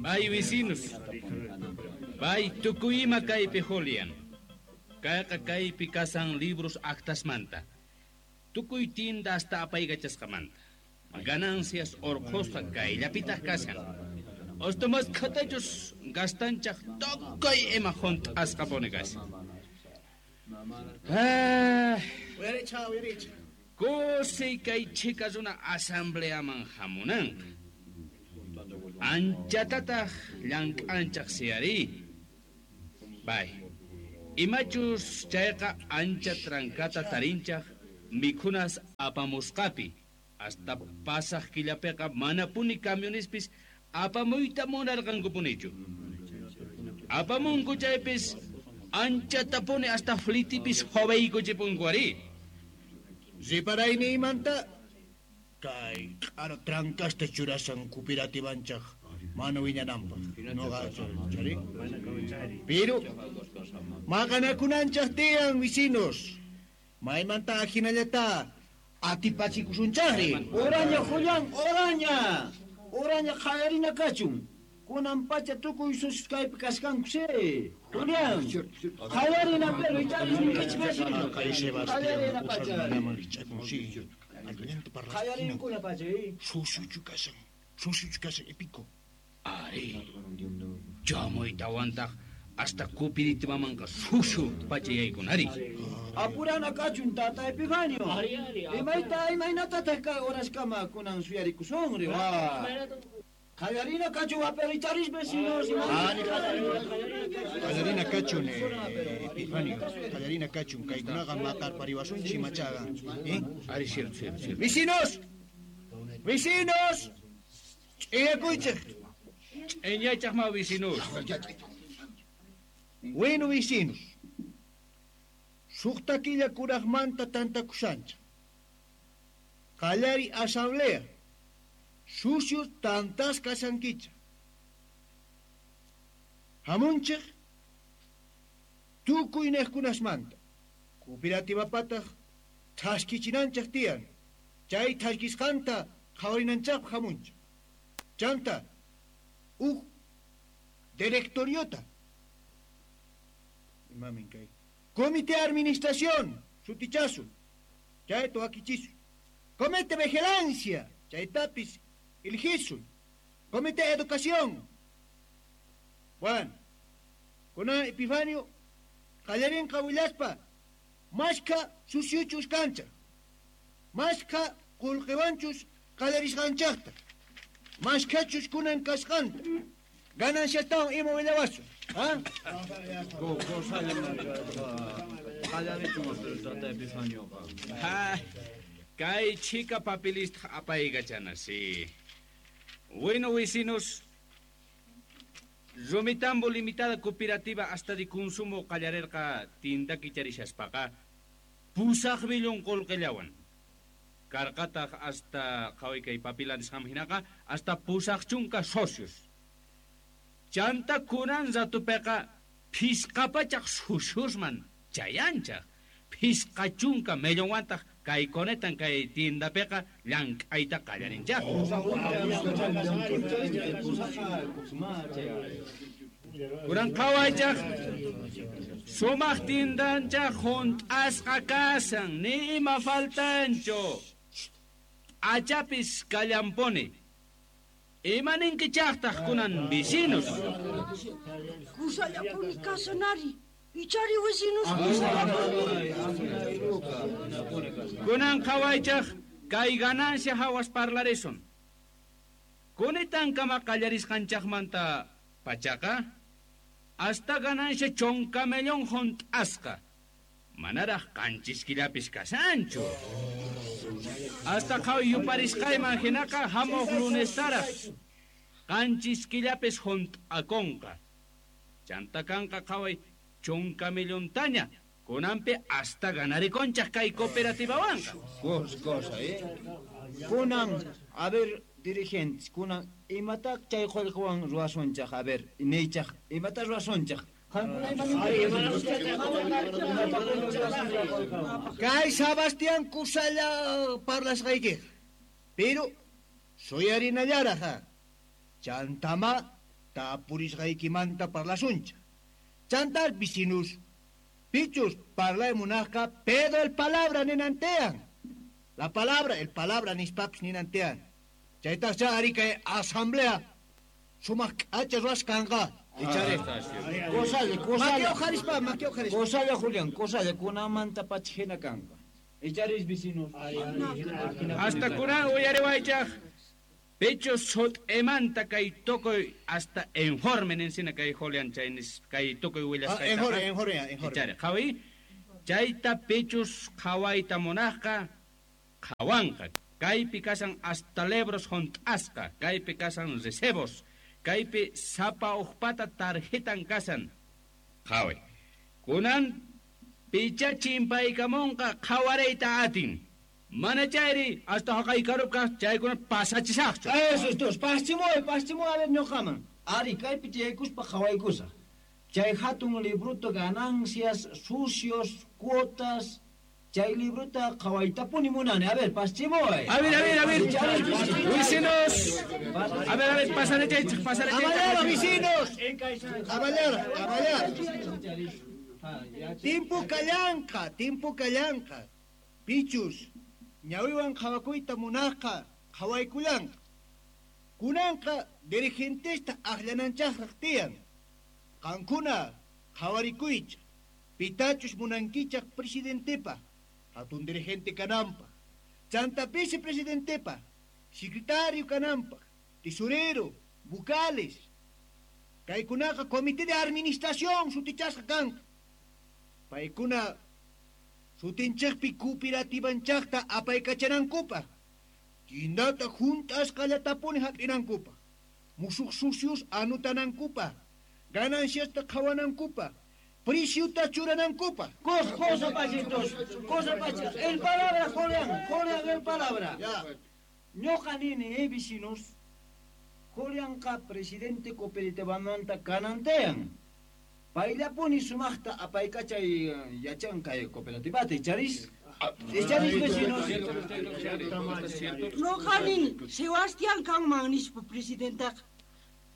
Bay vecinos. Bay tukuyima kaypi Julian. Kayqa kaypi kasan libros actasmanta. Tukuy tienda hasta apaykachasqamanta. Ganancias orqhusqa kayllapitaq kashan. Hasta maskhatachus gastanchaq tukuy ima hunt'asqapuni kashan. Ah, kusiy kay chhika runa asambleaman hamunanqa. Anchatataq llank'anchaq siyari. Bay. Imachus chayqa ancha trankata tarinchaq mikhunas apamusqapi. Hasta pasaq killapiqa manapuni camionespis apamuyta munarqankupunichu. Apamunku chaypis anchatapuni hasta flitipis joveykuchipunku ari. Riparaynimanta kay q'ara trankasta churasan cooperativanchaq mana wiñananpaq. Noqa chari. Pero maqanakunanchaq tiyan vecinos. Maymanta ajinallata atipachikusunchaqri. Oraña, Julián, oraña. Oraña qallarina kachun. Kunan pacha tukuy susus kaypi kasqanku sí. Julián, qallarina pero ichapis Kay Sebastián Qallarina pacha. manaman rich'akun sí. Allillanta parlasqina. Qallarinkuna pacha. Susuchu kashan. Susuchu kashan epico. Ari. Chamuytawantaq hasta cooperativa-manqa susu pacha yaykunari. Apurana kachun tata Epifanio. Imayta imaynatataq kay horaskama kunan suyarikusunri wa. Qallarina kachun apericharis vecinos. Qallarina kachun Epifanio. Qallarina kachun kaykunaqa maqarpariwasunchik machaqa. ¿Eh? Ari, cierto, cierto, cierto. Vecinos. Vecinos. Ch'iyakuychik. Ch'inyachaq ma vecinos. Bueno, vecinos. Suqta killa kuraqmanta tantakushanchik. Qallari asamblea. Sucios tantas kashankichik. Hamunchik tukuy niqkunasmanta. Cooperativapataq thaskichinanchik tiyan. Chay thaskisqanta qhawarinanchikpaq hamunchik. Chanta uj directoriota. Imamin kay. Comité de administración, sutichasun. Chayta wakichisun. Comité de vigilancia, chaytapis eligisun. Comité de educación. Bueno, kunan Epifanio, qallarinqa willaspa, mashkha susyuchus kanchaq. Mashkha qullqiwanchus qallarisqanchaqta. Mashkhachus kunan kasqanta. Gananciatawan ima willawasun. ¿Ah? Ha, kay chhika papelista apaykachana, sí. Bueno, vecinos, Rumitambo Limitada Cooperativa hasta de consumo qallarerqa tinda kicharishaspaqa pusaq millón qullqillawan. Karqataq hasta qhaway kay papila nisqanman hinaqa hasta pusaq chunka socios. Chanta kunan ratupiqa phisqa pachaq sociosman chayanchaq. Phisqa chunka millonwantaq kay konetan kay tiendapiqa llank'ayta qallarinchaq. Kunan qhawaychaq sumaq tiendanchaq hunt'asqa kasan, ni ima faltanchu. Achapis kallampuni. Ima ninkichaqtaq kunan vecinos? Kusallapuni kasanari. Ichari vecinos kusallapuni. Kunan qhawaychaq kay ganancia hawas parlarisun. Kunitankama qallarisqanchaqmanta pachaqa hasta ganancia chunka millón hunt'asqa. Manaraq qanchis killapis kasanchu. Hasta qhaw yuparisqayman hinaqa hamuq lunestaraq qanchis killapis hunt'akunqa. Chanta kanqa qhaway chunka millontaña kunanpi hasta ganarikunchaq kay cooperativawanqa. Cosa, ¿eh? Kunan, a ver, dirigentes, kunan imataq chay qullqiwan ruwasunchaq, a ver, niychaq, imata ruwasunchaq? Kay Sebastián kusalla parlasqaykiq. Pero Suyarinallaraq, chantama tapurisqaykimanta parlasuncha. Chantar vecinos, pichus parlay munajqa Pedro el palabra ninantean. La palabra, el palabra nispapis ninantean. Chaytaq cha ari kay asamblea sumaq k'acha ruwasqanqa. Ichari. Kosalla, kosalla. Maki uqharispa, maki uqharispa. Kosalla, Julián, kosalla, kunamanta pacha hina kanqa. Icharis vecinos. Hasta kunan uyariwaychaq. Pecho sot'emanta kay tukuy hasta informe ninsina kay Julián chay kay tukuy willasqaytaqa. Informe, informe, informe. Ichari, qhawi. Chayta pechus qhawayta munaqqa qhawanqa. Kaypi kasan hasta lebros junt'asqa, kaypi kasan recebos, kaypi sapa uqpata tarjetan kasan. Qhawi. Kunan picha chimpaykamunqa qhawarayta atin. Mana chayri hasta haqay karupqa chaykuna pasachisaqchu. Eso es dos, paschimuy, paschimuy a ver ñuqaman. Ari kaypi tiyaykuspa qhawaykusaq. Chay hatun libruta ganancias, sucios, cuotas, chay libruta qhawaytapuni munani. A ver, paschimuy. A ver, a ver, a ver. Vecinos. A ver, pasarachaychik, pasarachaychik. Amallar, vecinos. Amallar, amallar. Timpu kallanqa, timpu kallanqa. Pichus, ñawiwan qhawakuyta munaqqa qhawaykullanqa. Kunanqa dirigentesta aqllananchaqraq tiyan. Qankuna qhawarikuychaq. Pitachus munankichaq presidentepa, hatun dirigente kananpaq. Chanta vicepresidentepa, secretario kananpaq, tesorero, vocales. Kaykunaqa comité de administración sutichasqa kanqa. Paykuna sutinchaqpi cooperativanchaqta apaykachanankupaq. Tiendata junt'asqallatapuni hap'inankupaq. Musuq sucios anutanankupaq. Gananciasta qhawanankupaq. Preciota churanankupaq. Cosa pachitos, cosa pachitos. El palabra, Julián, Julián, el palabra. Ya. Ñuqa nini, vecinos. Julianqa presidente cooperativamanta kanantean. Payllapuni sumaqta apaykachay yachan kay cooperativata, icharis? Icharis vecinos. Ñuqa nini, Sebastián kanman nispa presidentaqa.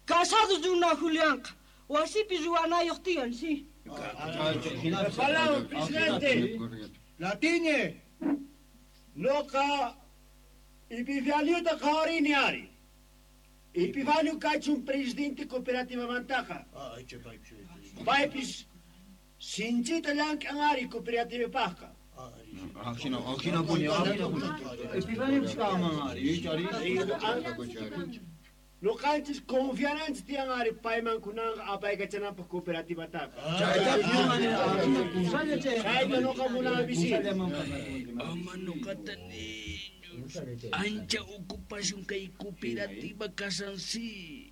Casado runa Julianqa. Wasipi ruwanayuq tiyan, sí. Palabra, presidente. Latine. Noqa Epifaniota qhawarini ari. Epifanio kachun presidente cooperativamantaqa. Paypis sinchita llank'an ari cooperativapaqqa. Ajinapuni, ajinapuni. Epifanio kanman ari, icharis. Noqanchis confiananchis tiyan ari payman kunanqa apaykachananpaq cooperativataqa. Chayta noqa munani vecino. Ama noqata niños. Ancha ocupación kay cooperativa kasan sí.